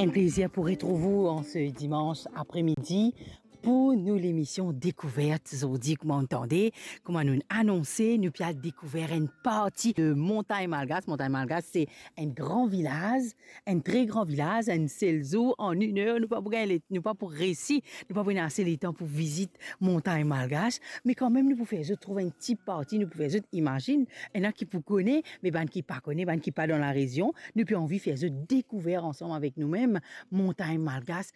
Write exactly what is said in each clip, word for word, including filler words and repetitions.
Enn plezir pou retrouv ou an se dimans apremidi pou nou lemision Dekouvert. Zordi, kouma nou tande, kouma nou anonse, nou pe al dekouver enn parti de Montagn Malgas. Montagn Malgas, se enn gran vilaz, enn tre gran vilaz. Enn sel zour, an enn er, nou pa pou gagn le-, nou pa pou resi, nou pa pou ena ase letan pou vizit Montagn Malgas. Me kanmem, nou pou fer zot trouv enn ti parti, nou pou fer zot imazinn, ena ki pou kone, me bann ki pa kone, bann ki pa dan larezion, nou pe anvi fer zot dekouver ansam avek noumem Montagn Malgas.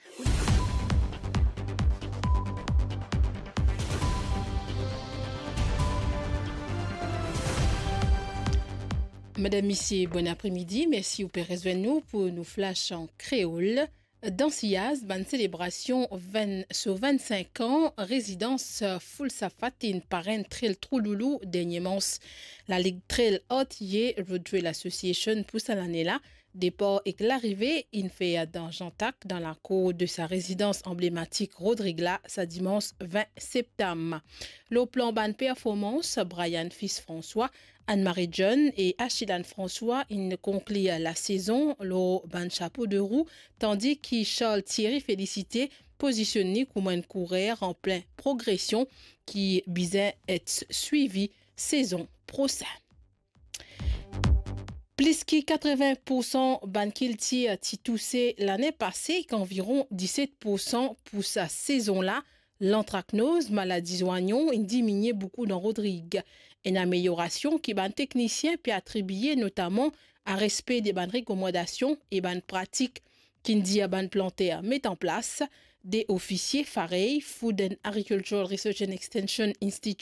Madam, misie, bon apremidi. Mersi ou pe rezwenn nou pou nou flash an kreol. Dan Siyaz, bann selebrasion vinn so vinn-sink an rezidans Foulsafat inn parenn Trail Trou Loulou dernie mars. Lalig Trail Artillé Road Trail Association pou sa lane la, depar ek larive inn fer dan Jantak, dan lakour de sa rezidans anblematik Rodrig la, sa dimans vin septam. Lor plan bann performans, Brian Fils François, Anne-Marie John e Achilane François inn konklir lasezon lor bann sapo de rou, tandi ki Charles Thierry Félicité pozisionn li kouma enn kourer an plin progresion ki bizin et swivi sezon prosin. Plis ki katrevin poursan bann kiltir ti touse lane pase, ek anviron diset poursan pou sa sezon la. Lantraknoz, maladi zwayon, inn diminie boukou dan Rodrig. Enn ameliorasion ki bann teknisien pe atribie notaman a respe de bann rekomandasion e bann pratik ki'nn dir bann planter met an plas. De ofisie FAREI, Food and Agricultural Research and Extension Institute,